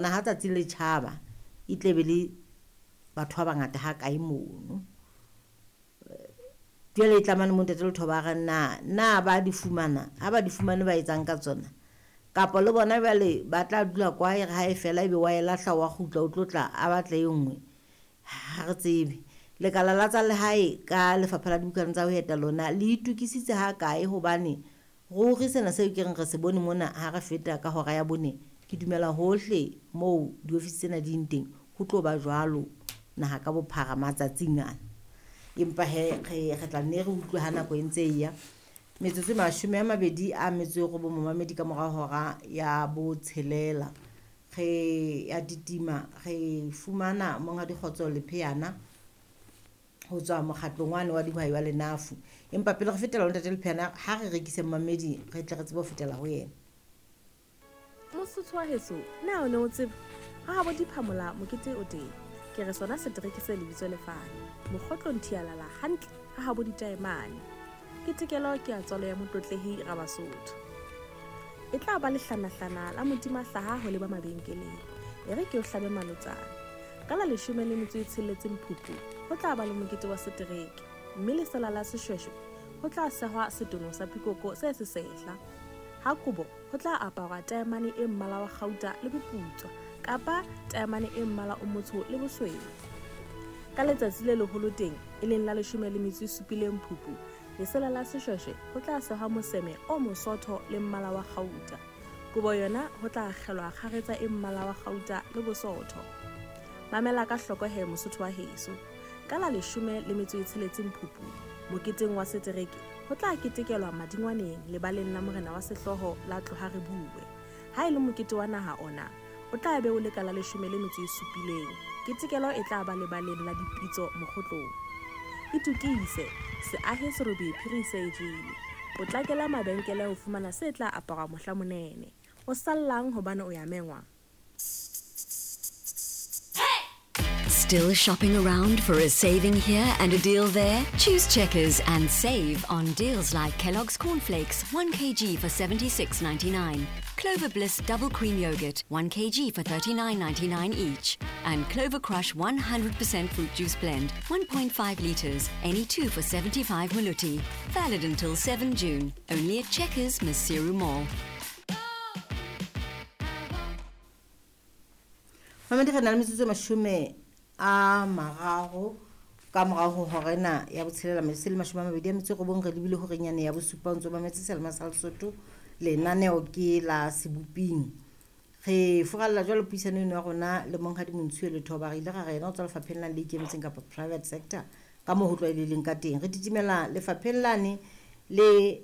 Ha tsatsi le tjhaba e tle be le batho ba bangata ha kae mono. Jwale e tlamane mo ntate Lethoba a re na na ba di fumana, ha ba di fumane ba etsang ka tsona? Kapa le bona jwale ba tla dula kwa e re ha e fela ebe wa e lahla wa kgutla o tlo tla a batla e nngwe. Ha re tsebe. Lekala la tsa lehae ka lefapha la dibukana tsa ho eta lona le itokisitse ha kae hobane ruri sena seo ke reng re se bone mona ha re feta ka hora ya bone, ke dumela hohle moo diofisi tsena di teng ho tlo ba jwalo naha ka bophara matsatsing ana. Empa he re tla nne re utlwe ha nako e ntse e ya. Metsotso e 29 momamedi ka mora hora ya botshelela. Re ya titima re fumana Monghadi Kgotso Lepheana ho tswa mokgatlong wane wa dihwai wa Lenafu. Empa pele re fetela ho ntate Lepheana, ha re rekise momamedi re tle re tsebe ho fetela ho yena. Mosotho wa heso, na o ne o tseba ha habo diphamola mokete o teng? Ke re sona setereke se lebitso lefane mokgotlong thialala hantle ha habo ditaemane. Ketekelo ke ya tswalo ya motlotlehi Rabasotho. E tla ba lehlanahlana la modima hlaha ho leba mabenkeleng. E re ke o hlabe malotsana. Ka la 16 Phupu ho tla ba le mokete wa setereke, mme lesela la seshweshwe ho tla sehwa setono sa pikoko se sesehla. Ha kobo ho tla aparwa taemane e mmala wa kgauta le boputswa kapa taemane e mmala o motsho le bosweu. Ka letsatsi le leholo teng, e leng la 17 Phupu, lesela la seshweshwe ho tla sehwa moseme o mosotho le mmala wa kgauta. Kobo yona ho tla akgelwa kgaretsa e mmala wa kgauta le bosotho. Mamela ka hloko he mosotho wa heso. Ka la 16 Phupu, moketeng wa setereke, ho tla ketekelwa madingwaneng lebaleng la morena wa sehlooho la Tloha re bue. Ha e le mokete wa naha ona, o tla be o le ka la 17. Ketekelo e tla ba lebaleng la dipitso mokgotlong. Itokise, seahe serobe phiri se e jele. Potlakela mabenkele ho fumana se tla aparwa mohla monene. O sallang hobane o ya mengwa? Still shopping around for a saving here and a deal there? Choose Checkers and save on deals like Kellogg's Cornflakes, 1 kg for $76.99, Clover Bliss Double Cream Yogurt, 1 kg for $39.99 each, and Clover Crush 100% Fruit Juice Blend, 1.5 litres, any two for 75 Maluti. Valid until 7 June, only at Checkers, Maseru Mall. Mamedi re na le metsotso e 30 ka morao ho hora ena ya botshelela, metsotso e 29 re lebile horeng yane ya bosupa. Ntso mametse Selma sa Lesotho, lenaneo ke la Seboping. Re furalla jwalo puisano eno ya rona le Monghadi Montshiwe Lethoba. Re ile ra re yena o tswa lefapheng la le ikemetseng kapa private sector ka moo ho tlwaelehileng ka teng. Re titimela lefapheng lane le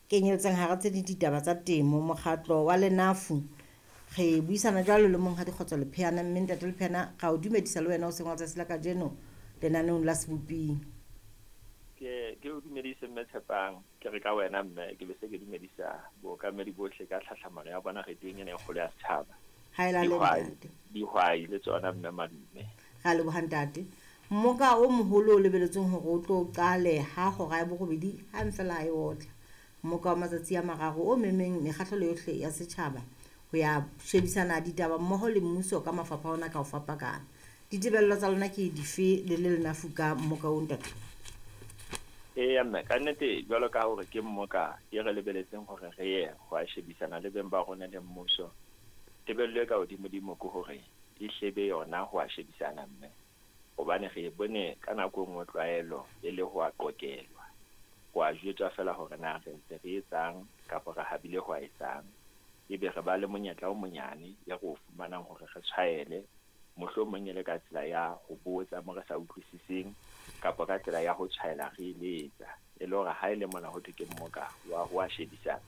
kenyeletsang hara tse ding ditaba tsa temo, mokgatlo wa Lenafu. Re buisana jwalo le Monghadi Kgotso Lepheana, mme ntate Lepheana ra o dumedisa le wena o seng wa tsatsi la kajeno lenaneong la Seboping. Ke o dumedise mme Tshepang, ke re ka wena mme ke be se ke dumedisa bookamedi bohle ka tlhahlamano ya bona radiong ena e kgolo ya setjhaba. Dihwai le tsona mme madume. Ra leboha ntate. Mmoka o moholo o lebeletsweng hore o tlo qale ha hora ya borobedi hang fela ha e otla. Mmoka wa matsatsi a mararo o memeng mekgahlelo yohle ya setjhaba ho ya shebisana ditaba mmoho le mmuso ka mafapha ona ka ho fapakana. Ditebello tsa lona ke dife le le Lenafu ka mmoka o ntate? Eya mme, ka nnete jwalo ka hore ke mmoka e re lebeletseng hore re ye ho a shebisana le beng ba rona le mmuso. Tebello e ka hodimodimo ke hore e hlebe yona ho a shebisana mme, hobane re bone ka nako e nngwe tlwaelo e le ho a qokelwa, ho a jwetswa fela hore na re ntse re etsang kapa re habile ho a etsang. Ebe re ba le monyetla o monyane e re o fumanang hore re tshwaele, mohlomong e le ka tsela ya ho botsa mo re sa utlwisiseng kapa ka tsela ya ho tshwaela re eletsa. E le hore ha e le mona ho thwe ke mmoka wa ho a shebisana,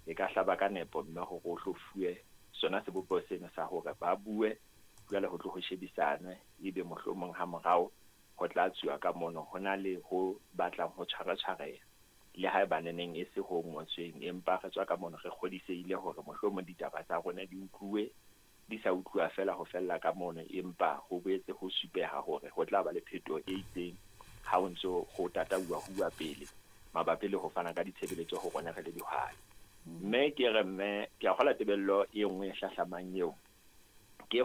e ka hlaba ka nepo mme hore o hlo fuwe sona sebopeho seno sa hore ba bue, jwale ho tlo ho shebisanwe, ebe mohlomong ha morao ho tla tsuwa ka mono ho na le ho batlang ho tshwaratshwareha. Le haeba neneng e se ho ngotsweng, empa re tswa ka mono re kgodisehile hore mohlomong ditaba tsa rona di utluwe, di sa utluwa fela ho fella ka mono, empa ho boetse ho supeha hore ho tla ba le phetoho e itseng ha ho ntso ho tatauwa huwa pele mabapi le ho fana ka ditshebeletso ho rona re le dihwai. Mme ke re mme ke a kgola tebello e nngwe e hlahlamang eo